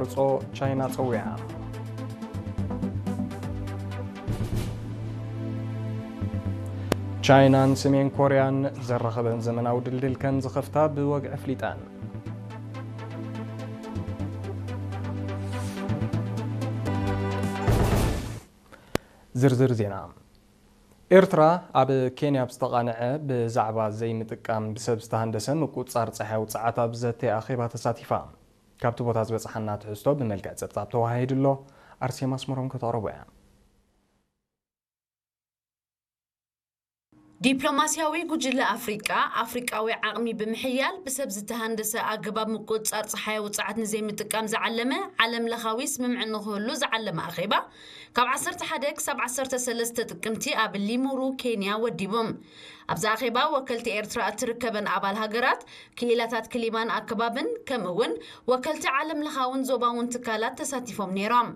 ርጾ ቻይና ጸዊዓ። ቻይናን ሰሜን ኮርያን ዘራኸበን ዘመናዊ ድልድል ከም ዝኸፍታ ብወግዒ ኣፍሊጠን። ዝርዝር ዜና። ኤርትራ ኣብ ኬንያ ብዝተቓንዐ ብዛዕባ ዘይምጥቃም ብሰብ ዝተሃንደሰ ምቁጽጻር ጸሓያዊ ጸዓት ኣብ ዘተ ኣኼባ ተሳቲፋ። ካብቲ ቦታ ዝበጽሓና ትሕዝቶ ብመልክዕ ጸብጻብ ተዋሃሂዱ ኣሎ። ኣርሴማ ኣስመሮም ከተቕርቦ እያ። ዲፕሎማስያዊ ጉጅለ ኣፍሪቃ፣ ኣፍሪቃዊ ዓቕሚ ብምሕያል ብሰብ ዝተሃንደሰ ኣገባብ ምቁጽጻር ጸሓያዊ ጸዓት ንዘይምጥቃም ዝዓለመ ዓለም ለኻዊ ስምምዕ ንኽህሉ ዝዓለመ ኣኼባ፣ ካብ ዓሰርተ ሓደ ክሳብ ዓሰርተ ሰለስተ ጥቅምቲ ኣብ ሊሙሩ፣ ኬንያ ወዲቡ። ኣብዚ ኣኼባ ወከልቲ ኤርትራ እትርከበን ኣባል ሃገራት፣ ክኢላታት ክሊማን ኣከባብን፣ ከምኡ እውን ወከልቲ ዓለም ለኻውን ዞባውን ትካላት ተሳቲፎም ነይሮም።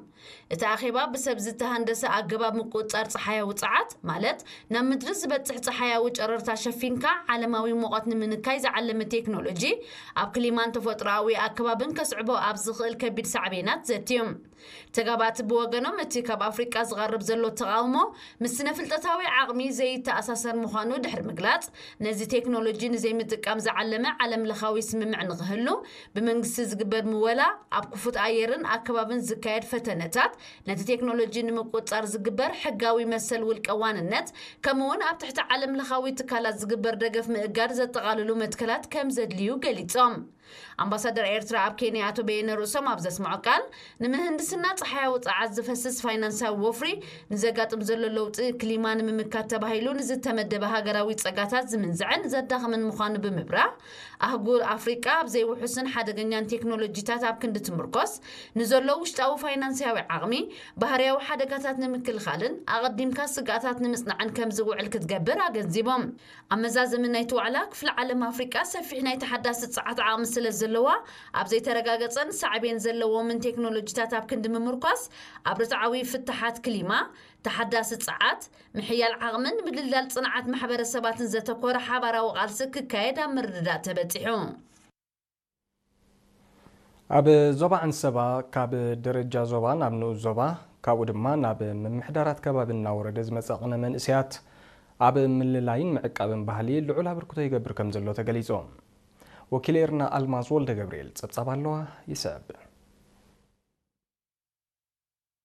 እቲ ኣኼባ ብሰብ ዝተሃንደሰ ኣገባብ ምቁጽጻር ጸሓያዊ ጸዓት፣ ማለት ናብ ምድሪ ዝበጽሕ ጸሓያዊ ጨረርታ ሸፊንካ ዓለማዊ ሙቐት ንምንካይ ዝዓለመ ቴክኖሎጂ፣ ኣብ ክሊማን ተፈጥሮኣዊ ኣከባብን ከስዕቦ ኣብ ዝኽእል ከቢድ ሳዕቤናት ዘትዩ። ተጋባእቲ ብወገኖም፣ እቲ ካብ ኣፍሪቃ ዝቐርብ ዘሎ ተቓውሞ ምስ ስነ-ፍልጠታዊ ዓቕሚ ዘይተኣሳሰር ምዃኑ ድሕሪ ምግላጽ፣ ነዚ ቴክኖሎጂ ንዘይምጥቃም ዝዓለመ ዓለም ለኻዊ ስምምዕ ንኽህሉ፣ ብመንግስቲ ዝግበር ምወላ፣ ኣብ ክፉት ኣየርን ኣከባብን ዝካየድ ፈተነታት፣ ነቲ ቴክኖሎጂ ንምቁጽጻር ዝግበር ሕጋዊ መሰል ውልቀ ዋንነት፣ ከምኡውን ኣብ ትሕቲ ዓለም ለኻዊ ትካላት ዝግበር ደገፍ ምእጋድ ዘጠቓልሉ መትከላት ከም ዘድልዩ ገሊጾም። ኣምባሳደር ኤርትራ ኣብ ኬንያ ኣቶ በየነ ርእሶም ኣብ ዘስምዖ ቃል፣ ንምህንድስና ጸሓያዊ ጸዓት ዝፈስስ ፋይናንሳዊ ወፍሪ ንዘጋጥም ዘሎ ለውጢ ክሊማ ንምምካት ተባሂሉ ንዝተመደበ ሃገራዊ ጸጋታት ዝምንዝዕን ዘዳኽምን ምዃኑ ብምብራህ፣ ኣህጉር ኣፍሪቃ ኣብ ዘይውሑስን ሓደገኛን ቴክኖሎጂታት ኣብ ክንዲ ትምርኮስ፣ ንዘሎ ውሽጣዊ ፋይናንሳዊ ዓቕሚ፣ ባህርያዊ ሓደጋታት ንምክልኻልን ኣቐዲምካ ስግኣታት ንምጽናዕን ከም ዝውዕል ክትገብር ኣገንዚቦም። ኣብ መዛዘሚ ናይቲ ዋዕላ፣ ክፍለ ዓለም ኣፍሪቃ ሰፊሕ ናይ ተሓዳሲ ጸዓት ዓቕሚ ስለ ዘለዋ፣ ኣብ ዘይተረጋገጸን ሳዕቤን ዘለዎምን ቴክኖሎጂታት ኣብ ክንዲ ምምርኳስ፣ ኣብ ርትዓዊ ፍታሓት ክሊማ፣ ተሓዳሲ ጸዓት፣ ምሕያል ዓቕምን ምድልዳል ጽንዓት ማሕበረሰባትን ዘተኮረ ሓባራዊ ቃልሲ ክካየድ ኣብ ምርድዳእ ተበጺሑ። ኣብ ዞባ ዓንሰባ ካብ ደረጃ ዞባ ናብ ንኡስ ዞባ፣ ካብኡ ድማ ናብ ምምሕዳራት ከባቢ እናወረደ ዝመጸ ቅነ መንእሰያት ኣብ ምልላይን ምዕቃብን ባህሊ ልዑል ኣበርክቶ ይገብር ከም ዘሎ ተገሊጹ። ወኪል ኤርና ኣልማዝ ወልደ ገብርኤል ጸብጻብ ኣለዋ፣ ይስዕብ።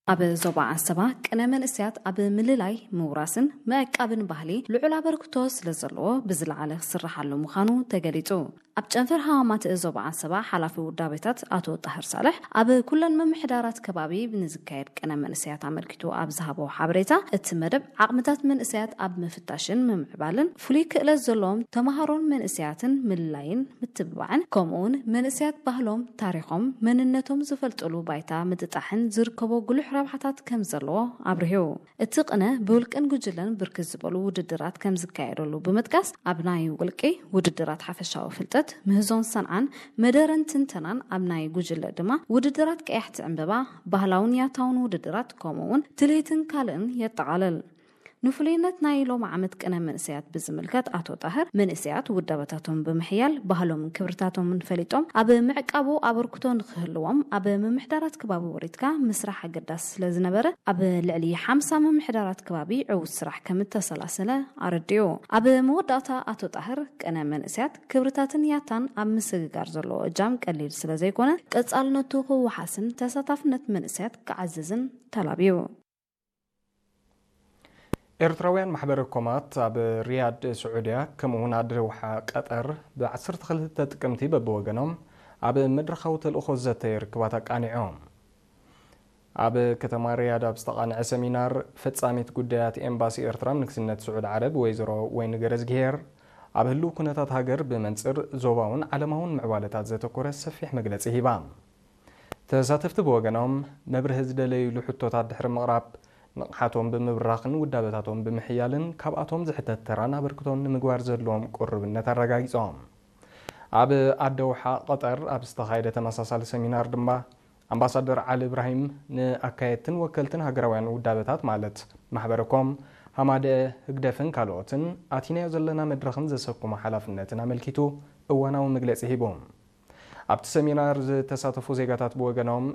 ኣብ ዞባ ዓንሰባ ቅነ መንእሰያት ኣብ ምልላይ፣ ምውራስን ምዕቃብን ባህሊ ልዑል ኣበርክቶ ስለ ዘለዎ ብዝለዓለ ክስርሓሉ ምዃኑ ተገሊጹ። ኣብ ጨንፈር ሃዋማት ዞባ ዓንሰባ ሓላፊ ውዳቤታት ኣቶ ጣህር ሳልሕ፣ ኣብ ኩለን ምምሕዳራት ከባቢ ንዝካየድ ቅነ መንእሰያት ኣመልኪቱ ኣብ ዝሃቦ ሓበሬታ፣ እቲ መደብ ዓቕምታት መንእሰያት ኣብ ምፍታሽን ምምዕባልን፣ ፍሉይ ክእለት ዘለዎም ተምሃሮን መንእሰያትን ምልላይን ምትብባዕን፣ ከምኡውን መንእሰያት ባህሎም፣ ታሪኾም፣ መንነቶም ዝፈልጥሉ ባይታ ምጥጣሕን ዝርከቦ ጉሉሕ ረብሓታት ከም ዘለዎ ኣብሪሁ። እቲ ቅነ ብውልቅን ጉጅለን ብርክት ዝበሉ ውድድራት ከም ዝካየደሉ ብምጥቃስ፣ ኣብ ናይ ውልቂ ውድድራት ሓፈሻዊ ፍልጠት፣ ምህዞን ሰንዓን፣ መደረን ትንተናን፣ ኣብ ናይ ጉጅለ ድማ ውድድራት ቀያሕቲ ዕምበባ፣ ባህላውን ያታውን ውድድራት፣ ከምኡ እውን ትልሂትን ካልእን የጠቓልል። ንፍሉይነት ናይ ሎም ዓመት ቅነ መንእሰያት ብዝምልከት ኣቶ ጣህር፣ መንእሰያት ውዳበታቶም ብምሕያል ባህሎምን ክብርታቶምን ፈሊጦም ኣብ ምዕቃቡ ኣበርክቶ ንክህልዎም ኣብ ምምሕዳራት ከባቢ ወሪድካ ምስራሕ ኣገዳሲ ስለ ዝነበረ፣ ኣብ ልዕሊ ሓምሳ ምምሕዳራት ከባቢ ዕዉት ስራሕ ከም እተሰላሰለ ኣረዲኡ። ኣብ መወዳእታ ኣቶ ጣህር፣ ቅነ መንእሰያት ክብርታትን ያታን ኣብ ምስግጋር ዘለዎ እጃም ቀሊል ስለ ዘይኮነ፣ ቀጻልነቱ ክወሓስን ተሳታፍነት መንእሰያት ክዓዝዝን ተላብዩ። ኤርትራውያን ማሕበረ ኮማት ኣብ ሪያድ ስዑድያ፣ ከምኡውን ኣደውሓ ቀጠር፣ ብ ዓሰርተ ክልተ ጥቅምቲ በብወገኖም ኣብ መድረኻዊ ተልእኾ ዘተ ርክባት ኣቃኒዖም። ኣብ ከተማ ሪያድ ኣብ ዝተቓንዐ ሰሚናር፣ ፈጻሚት ጉዳያት ኤምባሲ ኤርትራ ኣብ ንግስነት ስዑድ ዓረብ ወይዘሮ ወይኒ ገረዝግሄር፣ ኣብ ህልው ኩነታት ሃገር ብመንጽር ዞባውን ዓለማውን ምዕባለታት ዘተኮረ ሰፊሕ መግለጺ ሂባ። ተሳተፍቲ ብወገኖም፣ መብርሂ ዝደለይሉ ሕቶታት ድሕሪ ምቕራብ፣ ንቕሓቶም ብምብራኽን ውዳበታቶም ብምሕያልን ካብኣቶም ዝሕተት ተራን ኣበርክቶን ንምግባር ዘለዎም ቅሩብነት ኣረጋጊጾም። ኣብ ኣደውሓ ቀጠር ኣብ ዝተኻየደ ተመሳሳሊ ሰሚናር ድማ፣ ኣምባሳደር ዓሊ እብራሂም ንኣካየድትን ወከልትን ሃገራውያን ውዳበታት ማለት ማሕበረ ኮም፣ ሃማደአ፣ ህግደፍን ካልኦትን ኣቲናዮ ዘለና መድረኽን ዘሰክሞ ሓላፍነትን ኣመልኪቱ እዋናዊ መግለጺ ሂቡ። ኣብቲ ሰሚናር ዝተሳተፉ ዜጋታት ብወገኖም፣